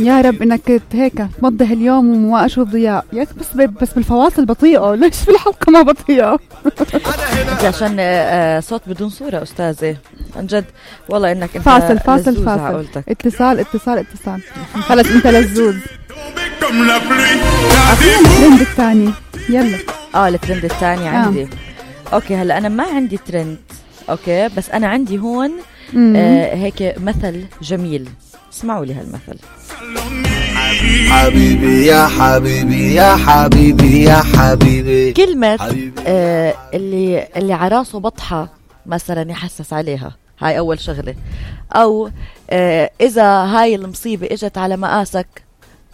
يا رب انك هيك تمضي اليوم وما اشوف ضياء ياك، بس بالفواصل بطيئه، ليش في الحلقه ما بطيئه؟ عشان صوت بدون صوره استاذه عن جد والله انك انت فاصل اتصال خلص انت لزوز. الترند الثاني يلا. الترند الثاني عندي اوكي. هلا انا ما عندي ترند اوكي، بس انا عندي هون هيك مثل جميل. اسمعوا لي هالمثل. حبيبي يا حبيبي يا حبيبي يا حبيبي. كلمة اللي عراسه بطحة مثلا يحسس عليها، هاي أول شغلة. أو إذا هاي المصيبة إجت على مقاسك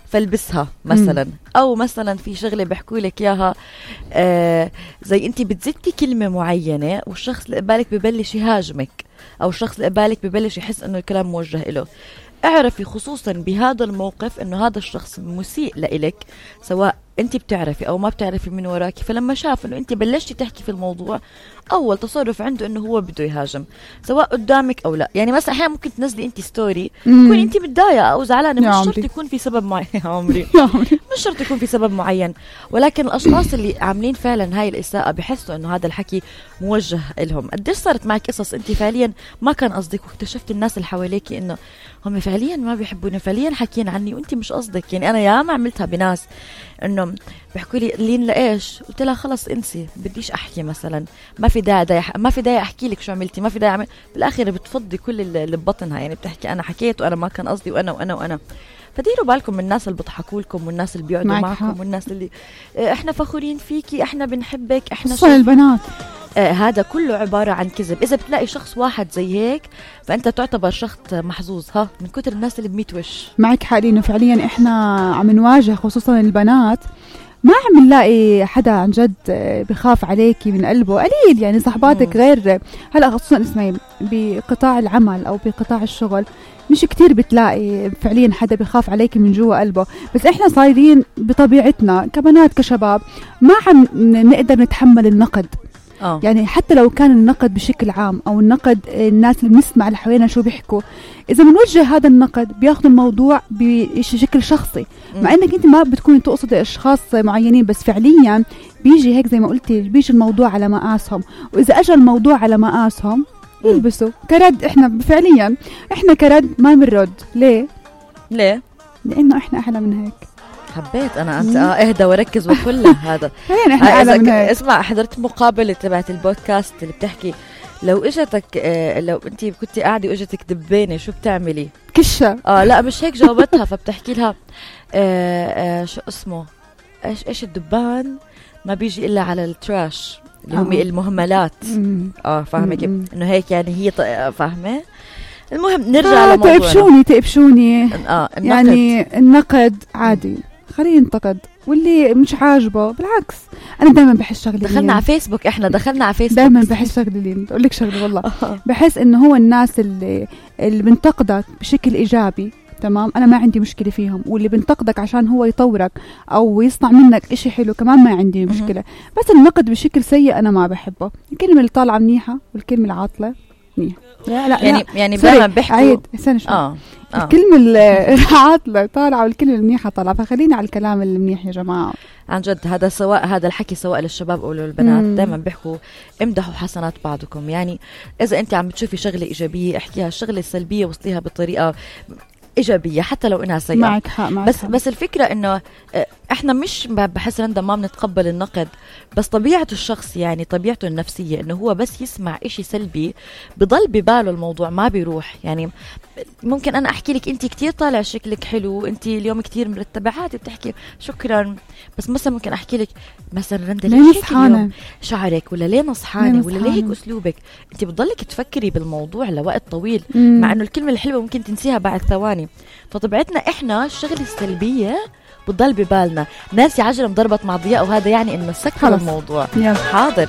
فلبسها مثلا. أو مثلا في شغلة بحكوا لك إياها زي أنت بتزتي كلمة معينة والشخص اللي قبالك ببلش يهاجمك، أو الشخص اللي قبالك ببلش يحس أنه الكلام موجه إله. اعرفي خصوصا بهذا الموقف انه هذا الشخص مسيء لإلك، سواء انت بتعرفي او ما بتعرفي من وراكي. فلما شاف انه انت بلشتي تحكي في الموضوع، اول تصرف عنده انه هو بده يهاجم، سواء قدامك او لا. يعني مثلا احيانا ممكن تنزلي انت ستوري تكون انت متضايقه او زعلانه، مش شرط يكون في سبب معين يا عمري مش شرط يكون في سبب معين، ولكن الاشخاص اللي عاملين فعلا هاي الاساءه بحسوا انه هذا الحكي موجه لهم. قديش صارت معك قصص انت فعليا ما كان قصدك، واكتشفت الناس اللي حواليك انه هم فعليا ما بيحبوني، فعليا حكين عني وانت مش قصدك. يعني انا ياما عملتها بناس انه بيحكوا لي لين لايش، قلت لها خلص انسي بديش احكي مثلا، ما في داعي احكي لك شو عملتي، ما في داعي بالاخر بتفضي كل اللي ببطنها. يعني بتحكي انا حكيت وانا ما كان قصدي وانا فديروا بالكم من الناس اللي بيضحكوا لكم والناس اللي بيقعدوا معكم والناس اللي احنا فخورين فيكي، احنا بنحبك، احنا خصوصا البنات. هذا كله عبارة عن كذب. إذا بتلاقي شخص واحد زي هيك فأنت تعتبر شخص محظوظ من كتر الناس اللي بميت وش. معك حق، إنه فعليا إحنا عم نواجه خصوصا البنات، ما عم نلاقي حدا عن جد بخاف عليكي من قلبه، قليل. يعني صحباتك غير هلا خصوصا اسمعي بقطاع العمل أو بقطاع الشغل مش كتير بتلاقي فعليا حدا بخاف عليكي من جوا قلبه. بس احنا صايرين بطبيعتنا كبنات كشباب ما عم نقدر نتحمل النقد. يعني حتى لو كان النقد بشكل عام او النقد الناس اللي بنسمع اللي حوالينا شو بيحكوا، اذا بنوجه هذا النقد بياخذوا الموضوع بشكل شخصي، مع انك انت ما بتكوني تقصد اشخاص معينين، بس فعليا بيجي هيك زي ما قلتي، بيجي الموضوع على مقاسهم. واذا اجى الموضوع على مقاسهم يلبسوا كرد. احنا فعليا احنا كرد ما بنرد. ليه؟ لانه احنا احلى من هيك. حبيت انا انت اهدى وركز وكل هذا. احنا اعلى من هيك. اسمع، حضرت مقابله تبعت البودكاست اللي بتحكي لو اجتك لو انت كنتي قاعده واجتك دبانه شو بتعملي؟ كشه. لا مش هيك جاوبتها. فبتحكي لها شو اسمه ايش الدبان ما بيجي الا على التراش اللي هم المهملات. فاهمه كيف انه هيك يعني هي فاهمه. المهم نرجع لموضوعنا. تقبشوني يعني النقد عادي، خليه ينتقد، واللي مش عاجبه بالعكس. انا دائما بحس شغله دخلنا على فيسبوك، دائما بحس شغله اقول لك شغله والله بحس انه هو الناس اللي بنتقدك بشكل ايجابي تمام، انا ما عندي مشكله فيهم، واللي بنتقدك عشان هو يطورك او يصنع منك اشي حلو كمان ما عندي مشكله. بس النقد بشكل سيء انا ما بحبه. الكلمه اللي طالعه منيحه والكلمه العاطله منيحه. لا يعني دائما بحكوا عيد استنى شوي. الكلمة العاطلة طالعة والكلمة المنيحة طالعة، فخلينا على الكلام المنيح يا جماعة. عن جد هذا الحكي سواء للشباب أو للبنات، دائما بيحكوا امدحوا حسنات بعضكم. يعني إذا أنت عم بتشوفي شغلة إيجابية احكيها، الشغلة السلبية وصليها بطريقة إيجابية حتى لو إنها سيئة. معك حق. بس الفكرة إنه إحنا مش بحس رندا ما بنتقبل النقد، بس طبيعة الشخص يعني طبيعته النفسية إنه هو بس يسمع إشي سلبي بضل بباله الموضوع ما بيروح. يعني ممكن أنا أحكي لك أنت كتير طالع شكلك حلو، أنت اليوم كتير مرتبة، عادي بتحكي شكرا. بس مثلا ممكن أحكي لك مثلا رندا ليه نصحانة شعرك، ولا ليه نصحانة، ولا ليه هيك أسلوبك. أنت بتضلك تفكري بالموضوع لوقت طويل، مع إنه الكلمة الحلوة ممكن تنسيها بعد ثواني. فطبيعتنا إحنا الشغلة السلبية بتضل ببالنا. ناس عجلة مضربت مع ضياء، وهذا يعني إنه سكر الموضوع. يلا. حاضر